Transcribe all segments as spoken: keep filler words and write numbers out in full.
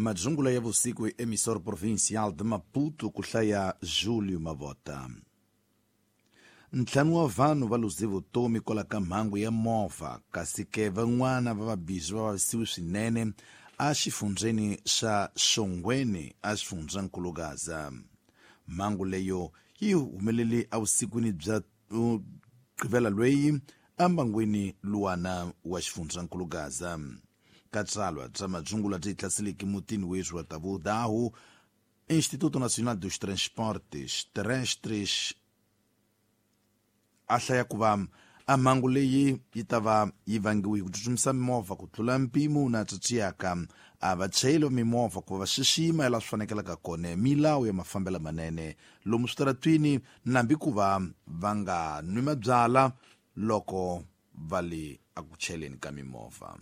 Madzungula ya vusiku hi emissor provincial de Maputo ku hlaya Julio Mavota. Ntlhanu wa vanhu va luze vutomi kwala ka mhangu ya movha kasi ke van'wana va vabizwi va vavisiwe swinene exifundzheni xa Xongweni exifundzhankulu Gaza. Mhangu leyo yi humelele evusikwini bya gqivela lweyi embangwini luwana wa xifundzhankulu Gaza. Ka tsalwa bya madzungula byi hlaseleke mutini weswi wa Tavudahu, Instituto Nacional dos Transportes Terrestres a hlaya ku va a mhangu leyi yi ta va yi vangiwe hi ku tsutsumisa mimovha ku tlula mpimo na tsatsiyaka a vachayeri va mimovha ku va va xixima laha swi fanekelaka kona milawu ya mafambelo manene lomu switaratwini nambi ku va va nga nwi mabyala loko va le eku chayeleni ka mimovha.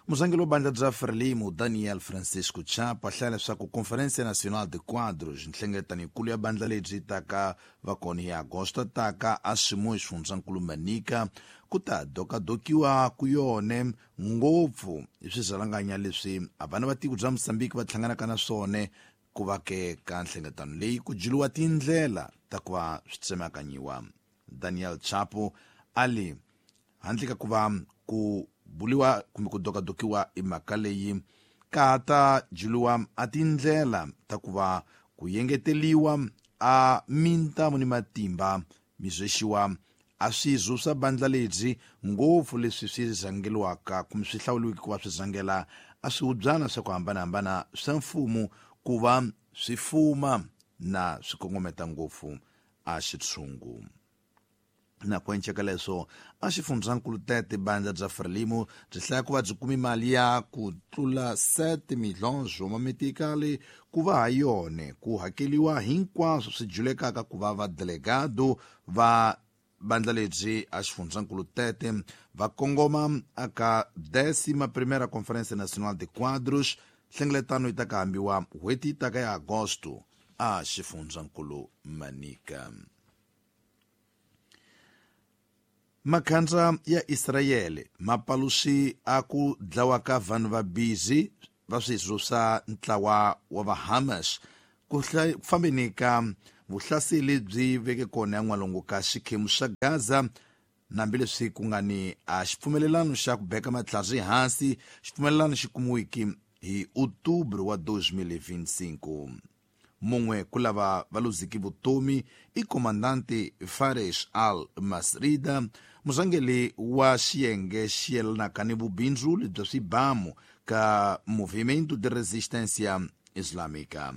Murhangeri wa bandla bya Frelimo Daniel Francisco Chapo a hlaya leswaku Conferência Nacional de Quadros, nhlengeletano yikulu ya bandla lebyi taka va kona hi Agosto taka a Ximo xifundzankulu Manica, ku ta dokadokiwa ku yone ngopfu hi swirhalanganya leswi a vana va tiko bya Mozambique va hlanganaka na swona ku va ke ka nhlengeletano leyi ku juluwa tindlela ta ku va swi tsemekanyiwa. Daniel Chapo a li handle ka ku va ku buliwa kumbe ku dokadokiwa i mhaka leyi ka ta juluwa a tindlela ta ku va ku yengeteliwa a mintamu ni matimba mizwexiwa a swizwo swa bandla lebyi ngopfu leswi swi rhangeliwaka kumbe swi hlawuliweke ku va swi rhangela a swihubyana swa ku hambanahambana swa mfumo ku va swi fuma na swi kongometa ngopfu a xitshungu. Na ku enceka leswo a xifundzankulu Tete bandla bya Frelimo byi hlaya ku va byi kumi mali ya ku tlula sete milhões wa mametikali ku va ha yone ku hakeliwa hinkwaswo swi julekaka ku va vadelegado va bandla lebyi a xifundzankulu Tete va kongoma aka décima primeira Conferência Nacional de Quadros, nhlengeletano yi ta ka hambiwa n'hweti yi taka ya Agosto a xifundzankulu Manica. Makhandza ya Israyele mapaluxi a ku dlawa ka vanhu va bizi va swizwo swa ntlawa wa va Hamas ku fambeni ka vuhlaseli byi veke kona ya n'walungu ka xikhemu xa Gaza, hambileswi ku nga ni a xipfumelelano xa ku beka matlhari hansi, xipfumelelano xi kumiweke hi Outubro wa dois mil e vinte e cinco. Mun'we ku lava va luziki vutomi i komandante Fares al-Masrida, murhangeri wa xiyenge xi yelanaka ni vubindzuli bya swibamu ka Movimento de Resistência Islâmica.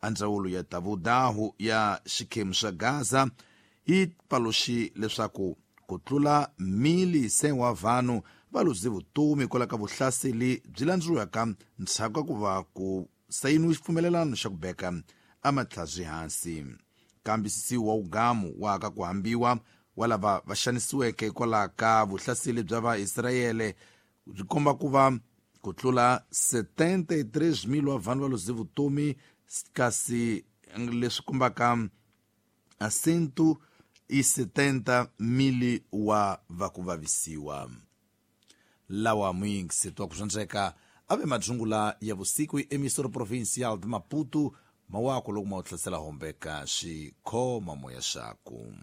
A ndzawulo ya Tavudahu ya xikhemu xa Gaza yi paluxi leswaku ku tlula mili cem wa vanhu va luze vutomi kwala ka vuhlaseli byi landzuriwaka ndzhaku ka ku va ku sayiniwe xipfumelelano xa ku beka a matlhari hansi. Kambisisiwa wa ugamu wa ka ku hambiwa wa lava va xanisiweke kwala ka vuhlaseli bya Vaisrayele byi komba ku va ku tlula setenta e três mil wa vanhu va luze vutomi, kasi leswi kombaka a cento e setenta mil wa va ku vavisiwa. Lawa muyingiseti wa ku swandzeka ave madzungula ya vusiku hi emissor provincial de Maputo mawako loko ma wu hlasela hombeka xikhoma moya xaku.